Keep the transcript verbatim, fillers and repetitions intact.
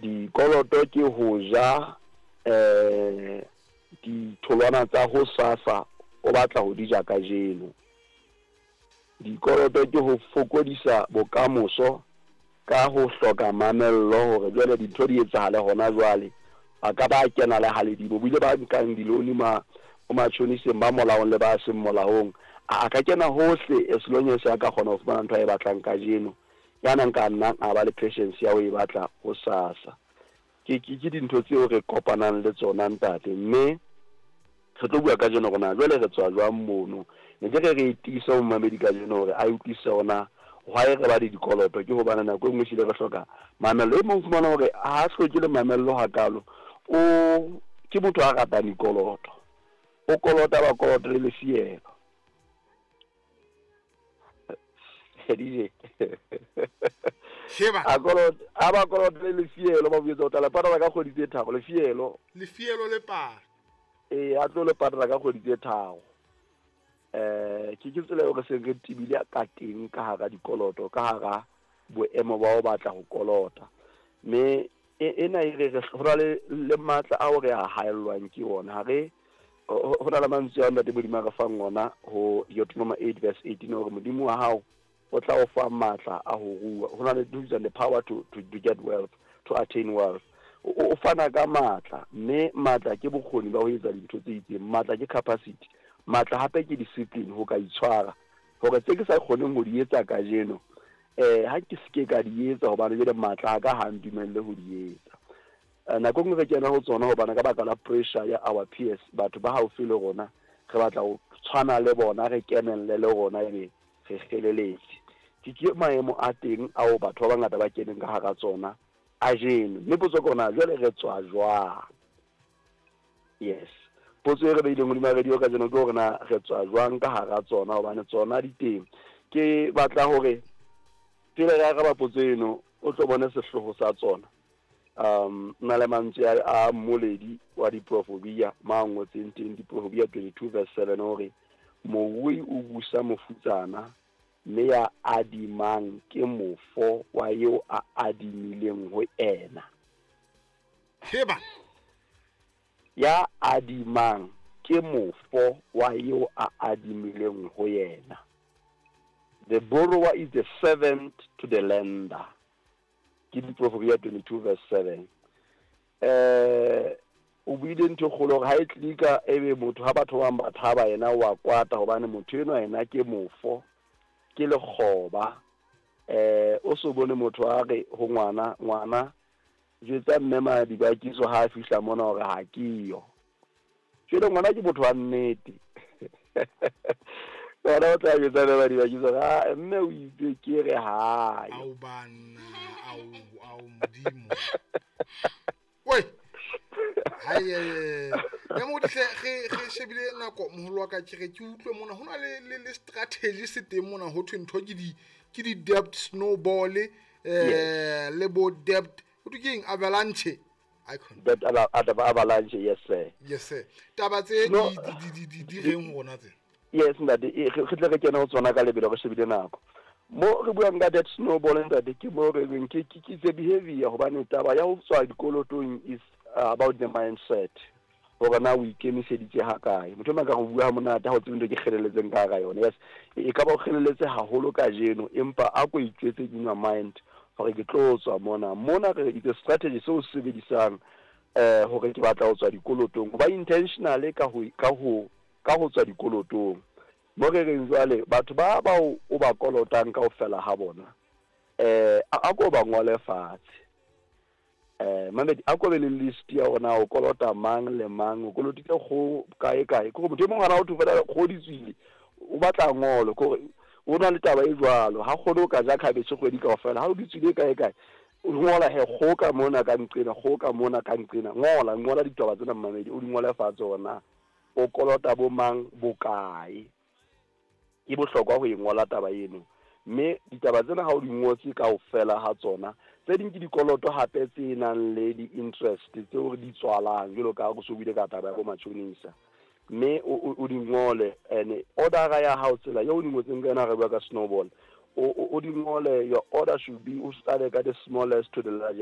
Dikoloto ke ho ja eh ditholwana tsa hosasa o batla ho di ja kajeno. Dikoloto ke ho fokodisa bokamoso ka ho hloka mamello hore jwale dintho di etsahale hona jwale. A ka ba kena le haledimo bo ile ba nkang di-loan ma ho matjhoniseng ba molaong le ba seng molaong. A ka kena hohle as long as a ka kgona ho fumana ntho a e batlang kajeno. Ya nang ka nnang a ba le patience ya ho e batla hosasa. Ke ke ke dintho tseo re kopanang le tsona, ntate, mme re tlo bua kajeno hore na jwale re tswa jwang mono. Ne ke re re e tiise ho momamedi kajeno hore a utlwisise hore na why re ba le dikoloto, ke hobane nako e nngwe ehlile re hloka mamello. E mong fumana hore ha hloke le mamello hakalo, o ke motho a ratang dikoloto, o kolota ba koloto le lefielo. D J. Sheba. A kolota, a ba kolota le lefielo, ba botsa o tla le patala ka kgwedi tse tharo lefielo. Lefielo le pala. Ee, a tlo le patala ka kgwedi tse tharo. Eh ke ke tsela eo re seng re tebile ka teng ka hara dikoloto, ka hara boemo ba ho batla ho kolota. Mme ena e re re ho na le le matla ao re a haellwang ke ona. Ha re ho na le mantswe a Ntate Modimo a re fang ona ho Deuteronomy eight verse eighteen hore Modimo wa hao o tla o fa matla a ho rua. Ho na le the power to, to, to get wealth, to attain wealth. O fana ka matla, mme matla ke bokgoni ba ho etsa dintho tse itseng. Matla ke capacity. Matla hape ke discipline, ho ka itshwara hore tse ke sa kgoneng ho di etsa kajeno, eh ha ke seke ka di etsa hobane jwale matla a ka ha ntumelle ho di etsa. Nako e nngwe re kena ho tsona hobane ka baka la pressure ya our peers, batho ba haufi le rona, re batla ho tshwana le bona, re kenelle le rona, ebe re kgeleletse. Ke ke maemo a teng ao batho ba bangata ba keneng ka hara tsona ajeno. Mme potso ke hore na jwale re tswa jwang? Yes. Potso e re beileng hodima radio kajeno ke hore na re tswa jwang ka hara tsona, hobane tsona di teng. Ke batla hore pele re araba potso eno o tlo bone sehlooho sa tsona. Um na le mantswe a mmoledi wa diprofobia ma ngotseng teng Diprofobia twenty-two verse seven hore morui o busa mofutsana mme ya adimang ke mofo wa eo a adimileng ho ena. Heba. Ya adimang ke mofo wa eo a adimileng ho yena. The borrower is the servant to the lender. Ke Diprofobia twenty-two verse seven. Eh o buile ntho e kgolo hore ha e tlika ebe motho ha batho ba bang ba thaba yena wa kwata hobane motho enwa yena ke mofo, ke lekgoba. Eh o so bone motho a re ho ngwana, ngwana jwetsa mme Madibakiso ha a fihla mona hore ha ke yo. Jwale ngwana ke motho wa nnete. Ngwana o tla jwetsa mme Madibakiso ha mme o itse ke re ha yo. Au bana, au au Modimo. Oi. Hai ya mo tle re re shebile nako moholo wa ka ke re ke utlwe mona hona le le le strategy se teng mona ho thwe ntho ke di ke di debt snowball, eh le bo debt ho thwe keng avalanche icon. Debt avalanche, yes sir. Yes sir. Taba tse di di di di reng rona tse. Yes ntate, re tle re kene ho tsona ka lebelo re shebile nako. Mo re buang ka debt snowball ntate, ke mo re reng ke ke the behavior hobane taba ya ho tswa dikolotong is about the mindset. Hore na o ikemiseditse ha kae. Motho mang ka go bua monate ha o tsebe ntho ke kgeleletseng ka hara yona. Yes, e ka ba o kgeleletse haholo kajeno empa a ko itjwetse in your mind hore ke tlo tswa mona. Mona re it's a strategy seo se sebedisang eh hore ke batla ho tswa dikolotong. Ba intentionally ka ho ka ho ka ho tswa dikolotong. Mo re reng jwale batho ba ba o ba kolotang kaofela ha bona, eh a ko ba ngole fatshe. Eh mamedi a ko be le list ya ona o kolota mang le mang, o kolotile go kae kae. Ke gore motho e mongwe ha o thofela go di tswile o batla ngolo, ke gore o na le taba e jwalo, ha kgone o ka ja cabbage kgwedi kaofela, ha o di tswile kae kae o ngola he go ka mona ka nqena, go ka mona ka nqena. Ngola ngola ditaba tsena mamedi, o di ngole fatshe ona o kolota bo mang bokae. Ke bohlokwa ho e ngola taba eno, mme ditaba tsena ha o di ngotse kaofela ha tsona, tse ding ke dikoloto hape tse nang le di-interest tseo re di tswalang jwalo ka ha re so buile ka taba ya bo matjhonisa. Mme o di ngole and order ya hao tsela eo o di ngotseng ka yona, re bua ka snowball, o di ngole. Your order should be o start ka the smallest to the largest.